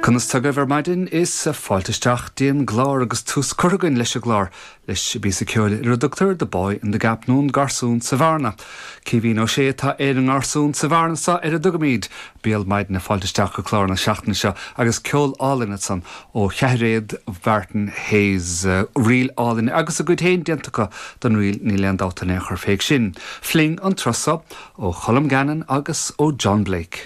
Conas tá agaibh ar maidin? Is fáilte isteach dtí an gclár agus tús curtha againn leis an gclár leis an bpíosa ceoil ar a dtugtar The Boy in the Gap nó an Garsún sa Bhearna. Caoimhín Ó Sé atá ar an ngarsún sa bhearna seo ar a dtugaimid béal maidine fáilte isteach go clár na seachtaine seo agus ceol álainn ansan ó cheathairéad Mhartin Hayes. Ríl álainn agus a gcuid féin déanta acu don ríl níl aon dabht in aon chor fé sin. Fling an turas seo ó Cholm Gannon agus ó John Blake.